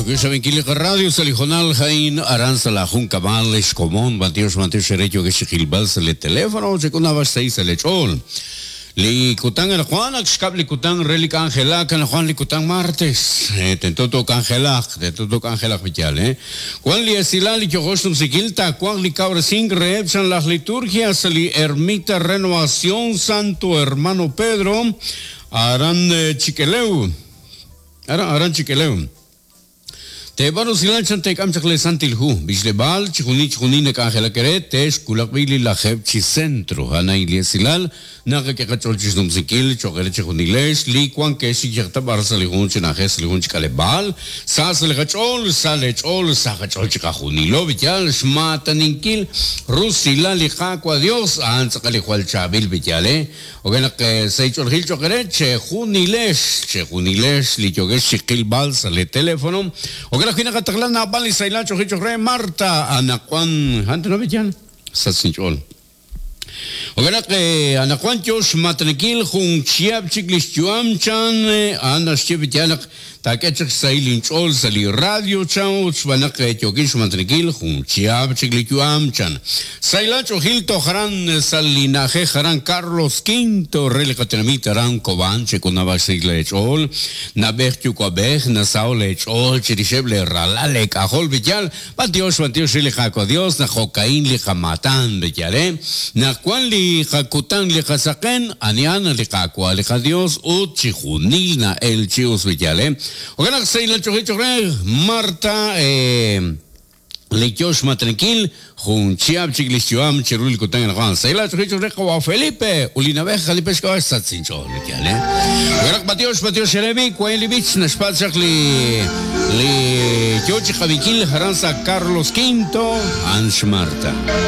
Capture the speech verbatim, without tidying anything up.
Yoke Radio Salijonal Jain Aranza la Juncamal Escomón Batios Mateos Erecho que Xijilbal le teléfono Chekunaba seis lechol Li kutan el Juan Axcab li kutan Relic Angela Can Juan li kutan martes Tentoto Angela Tentoto Angela Vital eh Juan li Esilal li Yogosh Sikilta Juan li Cabresing Reepsan las liturgias li Ermita Renovación Santo Hermano Pedro Aran Chiqueleu Aran Aran Chiqueleu Te baro silanchan te kam chakle santilhu bishlebal chikuni chikuni nek angela kere tesh kulakbili la jeb chi centro hana iliesilal naga ke kachol chis numsikil chokere chikunilesh li kwan ke shi yakta barsa li hun chinajes li hun chikalebal sa sle kachol sa le chol sa kachol chikajunilo bityal shmataninkil rusila li qaqua Dios antzakali jual chabil bityale ogena ke seichol gil chokere che junilesh che junilesh li yogesh chikil balsa le teléfono ogena la Kataglana Bali Sailacho Hicho Re Marta Anacuan Ante no Villan Satsinchol Ogena que Anacuan Chos Matrekil Jun Chiap Chiklis Chuam Chan Ana Chivitianak Takechak Sailin Chol Sali Radio Chan Uchbanak Yokish Matrekil Jun Chiap Chiklis Chuam Chan Sailacho Gil Tojaran Salinaje Jaran Carlos Quinto Relekatenamita Ran Koban Chekunaba Sigle Chol Nabej Chukwabej Nasao Lechol Chiricheble Ralale Cajol Villal Batios Batios Lijaco Dios Najocaín Lijamatan Villale Nacuan Lijacutan Lijasaquen Anian Lijacua Lija Dios Uchijunilna El Chius Villale Oganak Sailacho Hichore Marta eh Lechosh Matrenquil, Junchiab Chiglischuam, Cherul Kutan Juan, Saila Chicho Reco Felipe, Ulina Beja, Lipesco, Satsincho, Likiale. Garak Matios, Matios Jeremy, Cuelibich, Nashpachak, Li Li Yochi Javiquil, Jaranza Carlos Quinto, Ansh Marta.